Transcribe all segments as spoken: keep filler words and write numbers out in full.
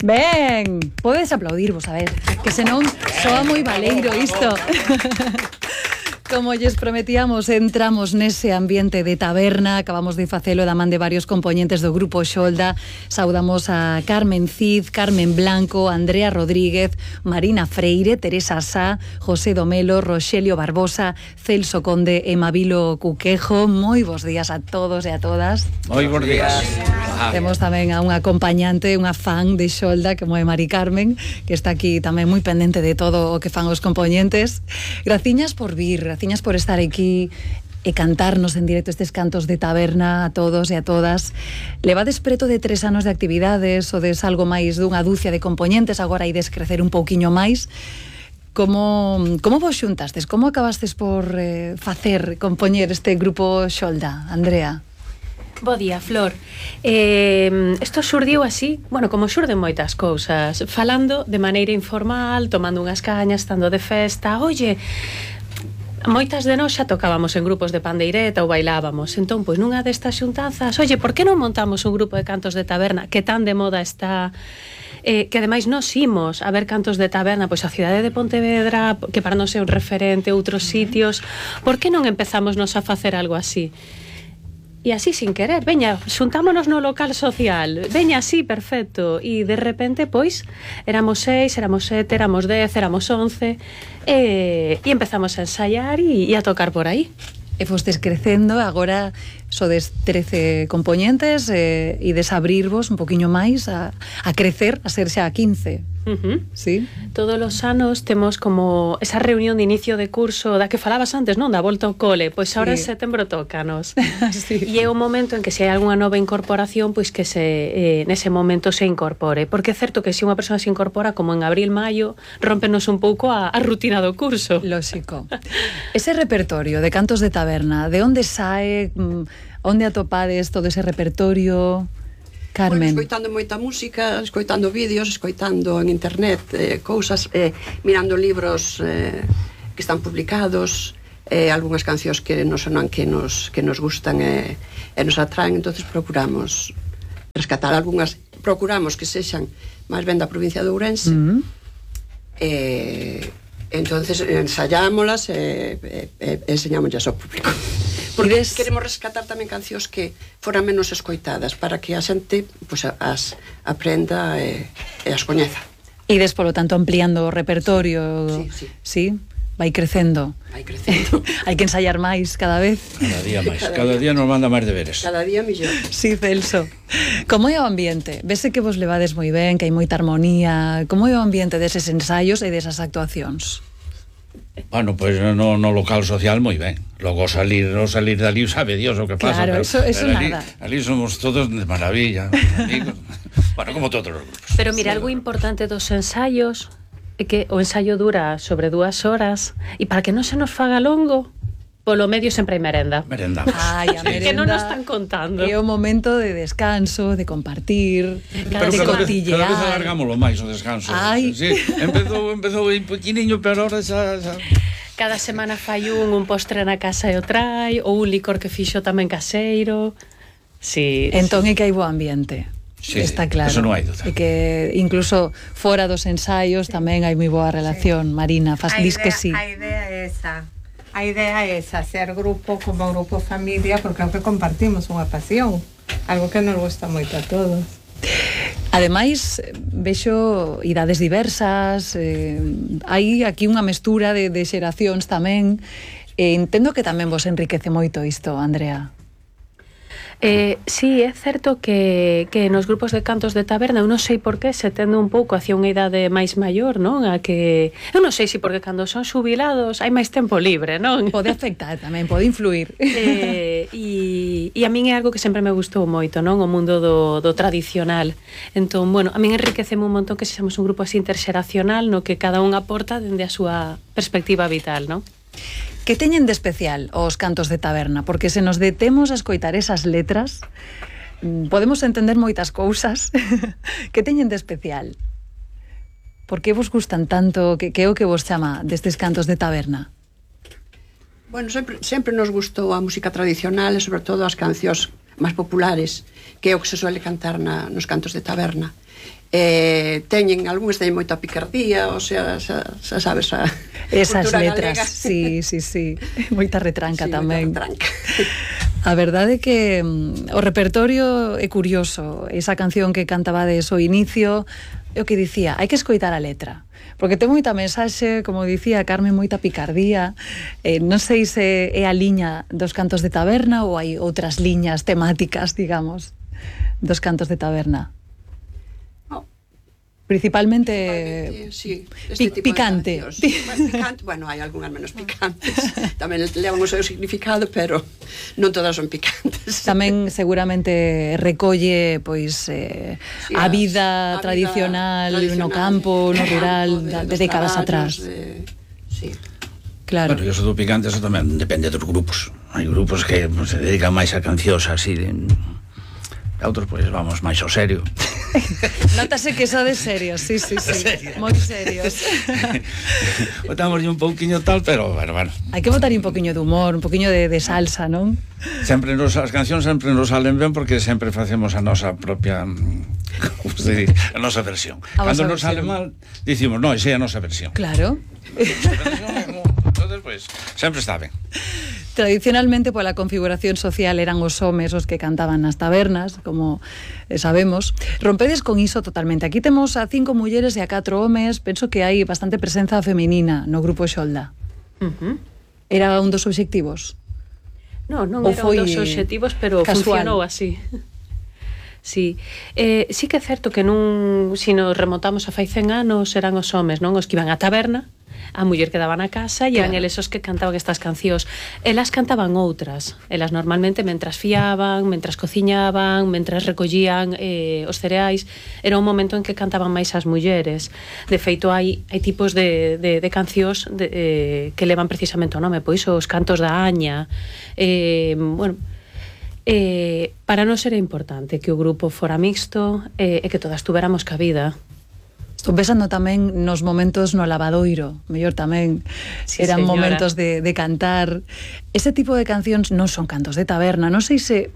Ben, podes aplaudirvos, a ver, que senón soa moi baleiro isto. Como lles prometíamos, entramos nese ambiente de taberna. Acabamos de facelo da man de varios componentes do grupo Xolda. Saudamos a Carmen Cid, Carmen Blanco, Andrea Rodríguez, Marina Freire, Teresa Sá, José Domelo, Roxelio Barbosa, Celso Conde e Mabilo Cuquejo. Moi bons días a todos e a todas. Moi bons días. Temos tamén a unha acompañante, unha fan de Xolda, como é Mari Carmen, que está aquí tamén moi pendente de todo o que fan os componentes. Graciñas por vir, graciñas por estar aquí e cantarnos en directo estes cantos de taberna a todos e a todas. Levades preto de tres anos de actividades, ou des algo máis dunha dúcia de componentes, agora ides crecer un pouquiño máis. Como, como vos xuntastes? Como acabastes por eh, facer, compoñer este grupo Xolda, Andrea? Bo día, Flor. Eh, isto xurdiu así, bueno, como xurden moitas cousas, falando de maneira informal, tomando unhas cañas, estando de festa. Oye, moitas de nós xa tocábamos en grupos de pandeireta ou bailábamos. Entón, pois nunha destas xuntanzas, oye, por que non montamos un grupo de cantos de taberna que tan de moda está? Eh, que ademais nos imos a ver cantos de taberna, pois a cidade de Pontevedra, que para nós é un referente, outros sitios. Por que non empezamos nos a facer algo así? E así sin querer, veña, xuntámonos no local social, veña así, perfecto. E de repente, pois, éramos seis, éramos sete, éramos dez, éramos once, e, e empezamos a ensaiar e, e a tocar por aí. E fostes crecendo, agora sodes trece componentes e, e desabrirvos un poquinho máis a, a crecer, a ser xa quince. Uh-huh. Sí. Todos os anos temos como esa reunión de inicio de curso da que falabas antes, non? Da volta ao cole. Pois agora sí. En setembro tócanos. Sí. E é o momento en que se hai algunha nova incorporación, pois que se eh, nese momento se incorpore. Porque é certo que se unha persoa se incorpora como en abril, maio, rómpenos un pouco a, a rutina do curso. Lóxico. Ese repertorio de cantos de taberna, de onde sae, onde atopades todo ese repertorio? Carmen. Bueno, escoitando moita música, escoitando vídeos, escoitando en internet eh, cousas, eh, mirando libros eh, que están publicados, eh, algunhas cancións que nos sonan que nos, que nos gustan e eh, nos atraen, entonces procuramos rescatar algunhas, procuramos que sexan máis ben da provincia de Ourense, mm-hmm. eh, entonces ensayámolas e eh, eh, enseñámoslas ao público. Porque Ides... queremos rescatar tamén cancións que foran menos escoitadas para que a xente pues, as aprenda e, e as coñeza. Ides, polo tanto, ampliando o repertorio. Sí, sí. Sí, vai crecendo. Vai crecendo. Hai que ensayar máis cada vez. Cada día máis. Cada, cada día nos manda máis deberes. Cada día millón. Sí, Celso. Como é o ambiente? Vese que vos levades moi ben, que hai moita armonía. Como é o ambiente deses ensaios e desas actuacións? Bueno, pois pues no, no local social moi ben. Logo salir, no salir dali sabe Dios o que pasa. Claro, pero, eso, eso pero ali, nada. Ali somos todos de maravilla, amigos. Bueno, como todos os grupos. Pero mira, sí. Algo importante dos ensaios é que o ensaio dura sobre dúas horas e para que non se nos faga longo, polo medio sempre hai merenda. Merendamos. Ai, a merenda. Que non nos están contando. É o momento de descanso, de compartir, pero de cada cotillear. Vez, cada vez alargámoslo máis o descanso. Ai. Sí, empezou, empezou un poquiniño, pero ahora xa... xa... Cada semana fai un, un postre na casa e o trai, ou un licor que fixo tamén caseiro. Sí. Entón é que hai bo ambiente. Sí, está claro. Eso non hai duda. E que incluso fora dos ensaios tamén hai moi boa relación. Sí. Marina, faz dis que sí. A idea é esa. A idea é esa, ser grupo como grupo familia, porque é o que compartimos unha pasión, algo que nos gusta moito a todos. Ademais, vexo idades diversas, eh, hai aquí unha mestura de, de xeracións tamén, e entendo que tamén vos enriquece moito isto, Andrea. Eh, sí, é certo que, que nos grupos de cantos de taberna eu non sei por que se tende un pouco hacia unha idade máis maior, non? A que eu non sei se porque cando son xubilados hai máis tempo libre, non? Pode afectar tamén, pode influir. Eh, e, e a min é algo que sempre me gustou moito, non? O mundo do, do tradicional. Entón, bueno, a min enriqueceme un montón que sexamos un grupo así interxeracional no que cada un aporta dende a súa perspectiva vital, non? Que teñen de especial os cantos de taberna? Porque se nos detemos a escoitar esas letras, podemos entender moitas cousas. Que teñen de especial? Por que vos gustan tanto? Que, que é o que vos chama destes cantos de taberna? Bueno, sempre, sempre nos gustou a música tradicional e sobre todo as cancións máis populares que é o que se suele cantar na, nos cantos de taberna. Eh, teñen, algúns teñen moita picardía, o sea, xa, xa sabes a esas cultura letras, galega. sí, sí, sí, moita retranca Sí, tamén. moita retranca. A verdade é que mm, o repertorio é curioso. Esa canción que cantabades ao inicio, é o que dicía, hai que escoitar a letra, porque ten moita mensaxe, como dicía Carmen, moita picardía. Eh, non sei se é a liña dos cantos de taberna ou hai outras liñas temáticas, digamos, dos cantos de taberna. Principalmente, sí, este pic picante. Bueno, picante. Bueno, hai algunhas menos picantes. Tamén levan o seu significado, pero non todas son picantes. Tamén seguramente recolle pois eh, sí, a vida a tradicional, vida tradicional no campo, no rural, de, de décadas atrás. De... Sí. Claro. Bueno, e eso do picante, eso tamén depende dos grupos. Hai grupos que pues, se dedican máis a cancións así de... E outros, pois, vamos máis ao serio. Notase que xa de serios, sí, sí, sí. Moi serios. Botamos un pouquiño tal, pero, bueno, bueno. Hai que botar un poquinho de humor, un poquinho de, de salsa, non? Sempre nos, as cancións sempre nos salen ben porque sempre facemos a nosa propia, como se dice, a nosa versión. A Cando nos sale mal, dicimos, non, esa é a nosa versión. Claro. Entonces, pois, sempre está ben. Tradicionalmente, pola configuración social, eran os homes os que cantaban nas tabernas, como sabemos. Rompedes con iso totalmente. Aquí temos a cinco mulleres e a catro homes. Penso que hai bastante presenza femenina no grupo Xolda. Uh-huh. Era un dos obxectivos? Non, non era un dos obxectivos, pero casual. Funcionou así. Sí, eh, sí que é certo que nun, si nos remontamos a fai cen anos, eran os homes, non? Os que iban á taberna, a muller quedaba na casa e eran claro. Eles os que cantaban estas cancións. Elas cantaban outras. Elas normalmente mentras fiaban, mentras cociñaban, mentras recollían eh, os cereais. Era un momento en que cantaban máis as mulleres. De feito, hai, hai tipos de, de, de cancións de, eh, que levan precisamente o nome. Pois os cantos da Aña. Eh, bueno... Eh, para nós era importante que o grupo fora mixto eh, e que todas tuveramos cabida. Estou pensando tamén nos momentos no lavadoiro, mellor tamén sí, eran señora. Momentos de, de cantar. Ese tipo de cancións non son cantos de taberna. Non sei se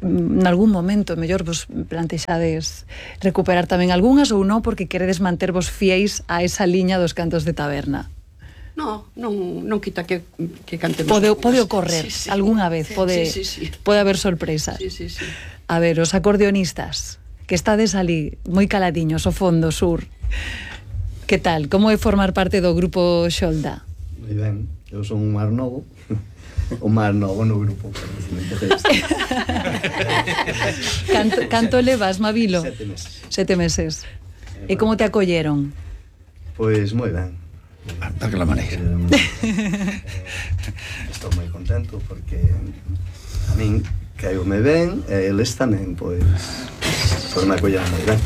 en algún momento mellor vos plantexades recuperar tamén algunhas ou non porque queredes mantervos fiéis a esa liña dos cantos de taberna. No, non, non quita que, que cantemos. Pode, pode ocorrer sí, sí. Algúnha vez, pode, sí, sí, sí. pode haber sorpresas. Sí, sí, sí. A ver, os acordeonistas, que estades ali, moi caladiños, ao fondo, sur. Que tal? Como é formar parte do grupo Xolda? Moi ben, eu son un mar novo. O mar novo no grupo. canto, canto levas, Mabilo? Sete meses. Sete meses. E como te acolleron? Pois moi ben. Daquela maneira. Eh, estou moi contento porque a min caíume ben e eles tamén, pois, pois me acolleron moi ben.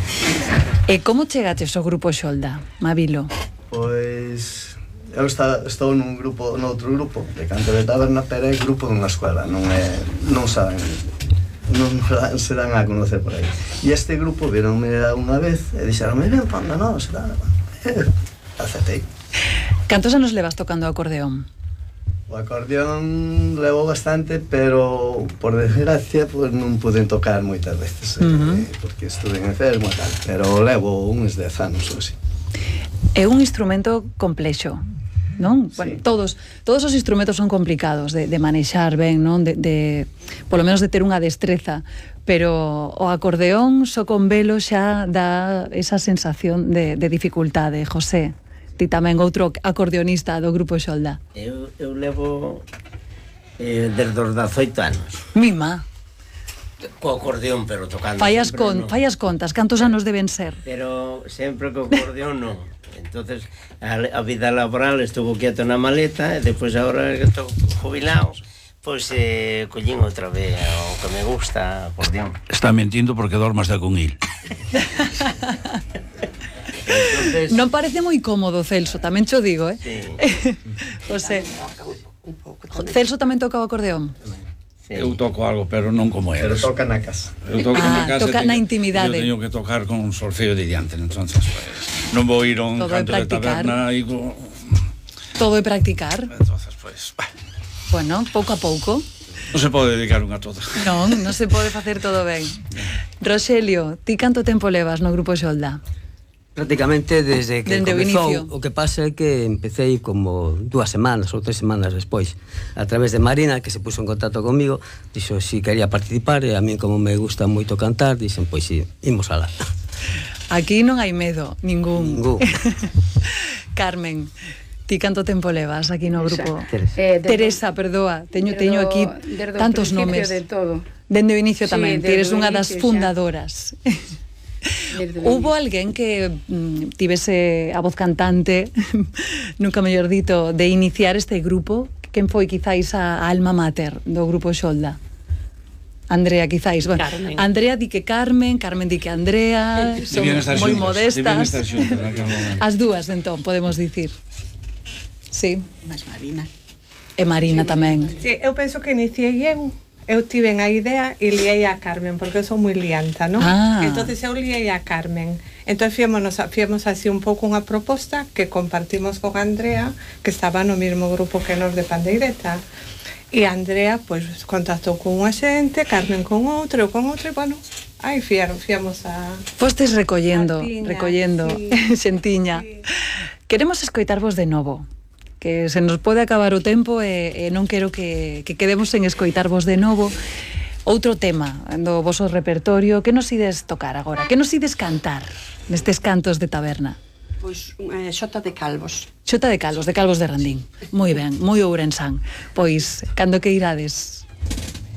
E como chegaches ao grupo Xolda, Mabilo? Pois eu está, estou nun grupo, noutro grupo de canto de taberna, pero é grupo dunha escola, non é, non saben, non se dan a conocer por aí. E este grupo vironme unha vez e dixeronme, ven, panda, non, será, aceptei. Cantos anos levas tocando o acordeón? O acordeón levo bastante, pero por desgracia pues, non pude tocar moitas veces, uh-huh. eh, porque estuve enfermo e tal, pero levo uns dez anos ou así. É un instrumento complexo, non? Sí. Bueno, todos, todos os instrumentos son complicados de, de manexar ben, non? De, de, polo menos de ter unha destreza, pero o acordeón só con velo xa dá esa sensación de, de dificultade. José, ti tamén outro acordeonista do grupo Xolda. Eu, eu levo eh, desde os dezoito anos. Mima. Co acordeón, pero tocando. Fallas, con, no. fallas contas, cantos anos deben ser? Pero sempre co acordeón non. Entonces a, a vida laboral estuvo quieto na maleta e depois agora que estou jubilado, pois eh, collín outra vez o que me gusta, acordeón. Está mentindo porque dormas de con il. Entonces... Non parece moi cómodo, Celso, tamén cho digo, eh? Sí. José, Celso tamén toca o acordeón? Sí. Eu toco algo, pero non como eles. Pero toca na casa. Eu toco ah, na casa. Toca teño, na intimidade. Eu teño que tocar con un solfeo de diante, entonces pues, non vou ir a un todo canto de taberna e go... Todo é practicar. Entonces, pues, bah. Bueno, pouco a pouco. Non se pode dedicar unha a todo. Non, non se pode facer todo ben. Roxelio, ti canto tempo levas no Grupo Xolda? Prácticamente desde que Dende o comezou. inicio. O que pasa é que empecéi como dúas semanas ou tres semanas despois, a través de Marina, que se puso en contacto comigo, dixo si quería participar, e a mí como me gusta moito cantar, dixen, pois si, imos alá. Aquí non hai medo, ningún. Ningún. Carmen, ti canto tempo levas aquí no grupo? Teresa. Eh, desde- Teresa, perdoa, teño, desde teño o- aquí desde o tantos principio nomes. de todo. Dende o inicio Sí, tamén, ti desde eres o unha das inicio xa. fundadoras. Desde o Hubo inicio. alguén que mm, tivese a voz cantante, nunca mellor dito, de iniciar este grupo? Quen foi quizáis a alma mater do Grupo Xolda? Andrea, quizáis. Bueno, Carmen. Andrea di que Carmen, Carmen di que Andrea, son Debían estar moi xuntas, debían modestas. estar xuntas naquele momento. As dúas, entón, podemos dicir. Sí. Mas Marina. E Marina tamén. Sí, eu penso que iniciei eu. Eu tiven a idea e liei a Carmen, porque eu sou moi lianta, non? Ah. Entonces eu liei a Carmen. Entón fiémonos, fiemos así un pouco unha proposta que compartimos con Andrea, que estaba no mesmo grupo que nos de Pandeireta. E Andrea, pois, contactou con unha xente, Carmen con outro, eu con outro, e, bueno, aí fiaron, fiamos a... Fostes recollendo, A piña, recollendo, sí. xentiña. Sí. Queremos escoitarvos de novo, que se nos pode acabar o tempo e, e non quero que, que quedemos sen escoitarvos de novo. Outro tema do voso repertorio, que nos ides tocar agora? Que nos ides cantar nestes cantos de taberna? Pois eh, xota de calvos. Xota de Calvos, de Calvos de Randín. Moi ben, moi ourensán. Pois, cando que irades?